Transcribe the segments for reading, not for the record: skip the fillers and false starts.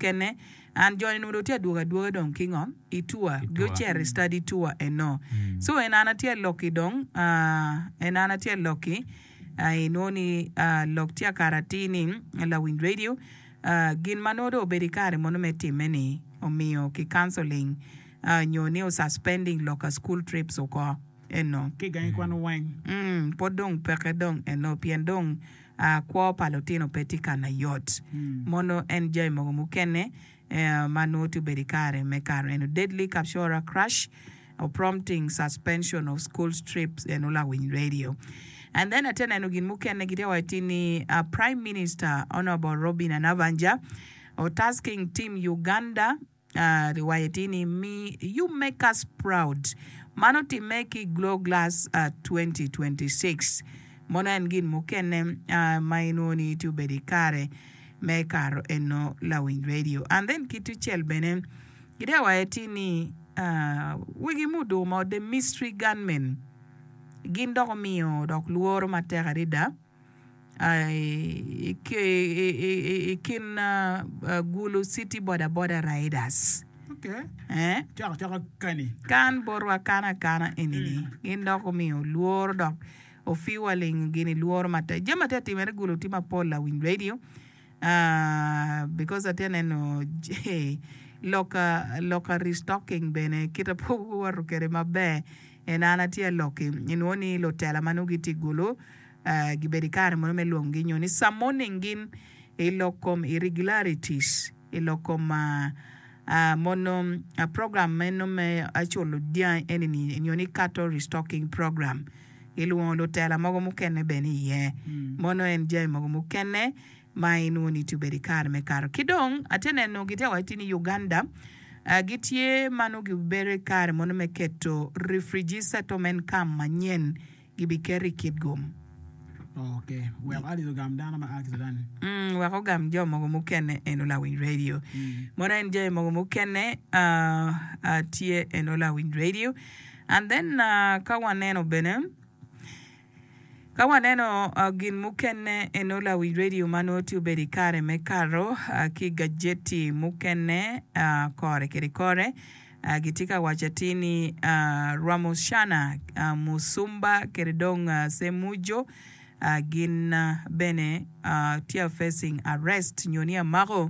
mukene and joni nongo dong tye adwogo adwoga dong ki ngo i tour gucito i study tour eno so en an atye aloki dong en an atye aloki inongo ni lok tye akato atir ni lawiny radio gin ma nongo dong obedo ikare mono me time ni omiyo ki cancelling nyo ni o suspending lok ka school trips oko eno. Ki gangi kwan weng. Pwod dong peke dong eno pien dong kwo pa lutino pe tye ka na yot. Mono en jami mogo mukene ma nongo tye obedo i kare me kato eno deadly Kapchorwa crash prompting suspension of school trips eno lawiny radio. And then atye neno gin mukene gitye waco ti ni Prime Minister Honourable Robinah Nabbanja tasking team Uganda Riwayo tye ni Mi You Make Us Proud. Man otimme ki Glow Glass 2026. Mono en gin mukene ma inwongo ni tye obedo i kare me kato eno lawiny radio. And then ki tucel bene gitye ka waco tye ni wigi muduku mo The Mystery Gunmen gin dok omiyo dok lworo matek adada. I kin Gulu City Boda Boda Riders. Kan botwa kan akana eni-ni gin dok omiyo lworo dok ofiwaling gini lworo matek. Jami ma tye ka timere Gulu tye mapol lawiny radio because atye ka neno lok ka restocking bene kite pe owoto kwede maber en an atye ka lok-ki inwongo ni lutela ma nongo gitye i Gulu gibedo i kare mono me lwongogi nyo ni summoning gin i lok kom irregularities i lok kom mono program meno me culo dyangi eni ni nyo ni cattle restocking program gilwongo lutela mogo mukene bene iye mono en jami mogo mukene ma inwongo ni tye obedo i kare me kato ki dong atye neno gitye waco ni Uganda gitye ma nongo gibedo i kare mono me keto refugee settlement camp manyen gibiketo i kit gum. Ok, wek Alice ogam dano ma a ki Sudan. Mm, wek ogam jo mogo mukene eno lawiny radio. Mono en jami mogo mukene uh, uh, tye eno lawiny radio. And then uh, ka waneno bene ka waneno uh, gin mukene eno lawiny radio ma nongo tye obedo i kare me kato uh, ki gajeti mukene uh, kore kede kore Gitye ka waco atir ni Rwamucana, Musumba kede dong Semujo gin bene tye facing arrest nyo ni amako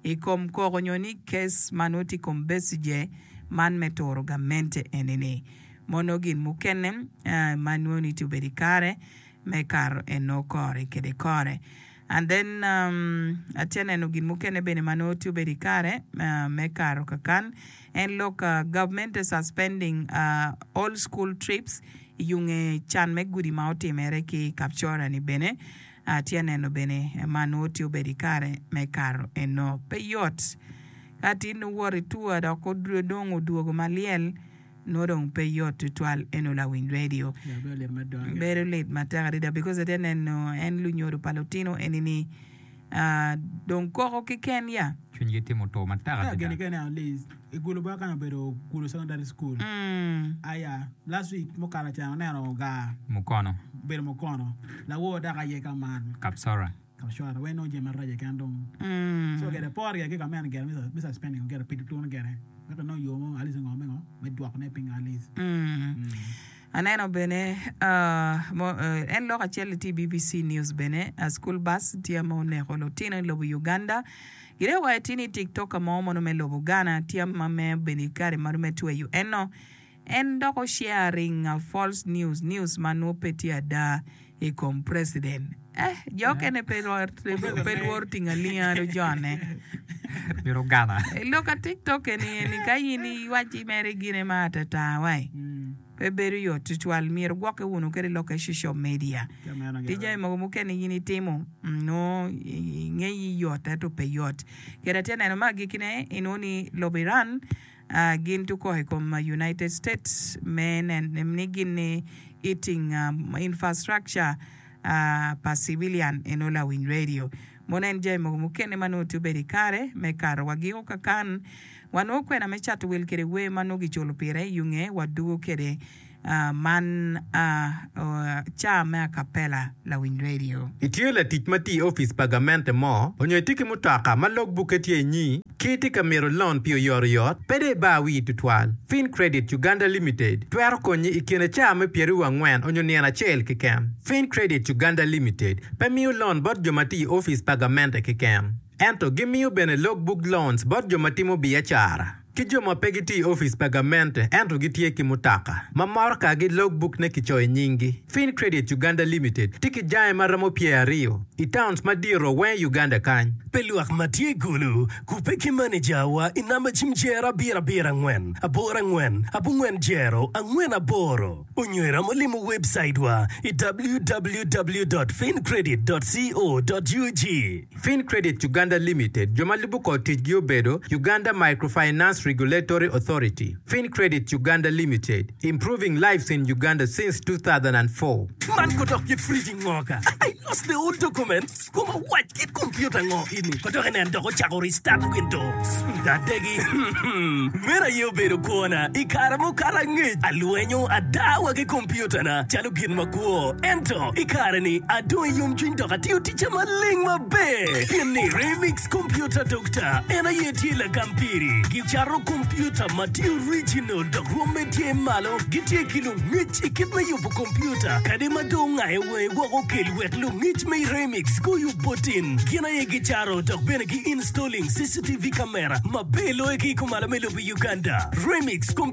i kom koko nyo ni case ma nongo tye i kom Besigye man me turo gamente eni-ni. Mono gin mukene ma nongo ni tye obedo i kare me kato eno kore kede kore. And then atye neno gin mukene bene ma nongo tye obedo i kare me kato kakan en lok government suspending all school trips i yunge can me gudi ma otimere ki Kapchora ni bene atye neno bene ma nongo tye obedo i kare me kato eno. Pe yot ka tin nongo wot i tour dok dong odwogo malyel. Nongo dong pe yot tutwal eno lawiny radio. Bedo lit matek adada because atye neno en lunyodo pa lutino eni ni dong koko kiken ya. Cwinygi tye mutur matek adada. Gin kene at least i Gulu bene kany obedo Gulu Secondary School aya last week mukato ca aneno gar Mukono. obedo mukono lawor dok aye ka man. Kapsora. Kapsora weng nongo jami maraco keken dong so gire pore gire ki ka meno gire me suspending gire pido tunu gire wek inong yo mo at least ngo me ngo me dwoko ne piny at least. Aneno bene en lok acel tye i BBC News bene school bus tye ma oneko lutino i lobo Uganda gire wa tye ni tiktoker mo mono me lobo Ghana tye ma me obedo i kare ma me tweyo eno En dok o sharing false news, news ma nwo pe tye ada i kom president. Eh, jo okene pe pe lworo tingo alinga do jone. Myero ogana. I lok a TikTok eni eni ka in iwaci mere gine ma atata wai. Pe bedo yot tutwal. Myero gwokke wunu kede lok e social media. Tye jami mogo mukene in itimo nongo ingeyi yot ento pe yot. Kede atye neno me agikine inongo ni lobo Iran Gin tuko i kom United States me neno ni gin ni eating infrastructure pa civilian eno lawiny radio. Mono en jami mogo mukene ma nongo tye obedo i kare me kato wa giko kakan. Wanongo kwena me cato wil kede wer ma nongo giculo pire yunge wadugo kede. Man caa me acapella lawiny radio. Itye latic ma tye i opic pa gamente mo onyo itye ki mutoka ma log bukke tye inyi ki itye ka mito lon pi oyotoyot? Pe dong ibar wii tutwal. Fin Credit Uganda Limited twero konyi i kine caa me pyeraryo angwen onyo nino acel keken. Fin Credit Uganda Limited pe miyo lon bot jo ma tye i opic pa gamente keken, ento gimiyo bene log book loans bot jo ma timo biacara. Ki jo ma pe gitye i opic pa gamente ento gitye ki mutoka ma morokagi logbuk-ne kicoyo nyinggi. Fin Credit Uganda Limited tye ki jange ma romo pyeraryo i towns madito weng i Uganda kany. Pe lwak ma tye i Gulu kubbe ki manejawa i namba cim jero abiro abiro angwen aboro angwen abongwen jero angwen aboro onyo iromo limo webcaitwa i www dot fincredit dot co dot ug. Fin Credit Uganda Limited, jo ma lubo kor ticgi obedo, Uganda Microfinance Regulatory Authority, Fin Credit Uganda Limited, improving lives in Uganda since 2004. Man kodok kit fridge ngo ka? I lost the old documents koma wac kit computer ngo ini kodok inen dok ocako restart windows adegi meno aye obedo kwona i kare mukato angec alwenyo ada wa ki computer na calo gin makwo ento i kare ni adong i yomcwiny dok atiyo ticca maleng maber pien ni Remix Computer Doctor en aye tye lagam piri. Gicato kompiuta ma tye original dok rwomme tye malo. Gitye ki lungec i kit me yubo kompiuta kadi ma dong ongayo wangi woko kel wek lungec me Remix guyub botin. Gin aye gicato dok bene gi installing CCTV camera maber loyo ki i kumalo me lobo Uganda. Remix.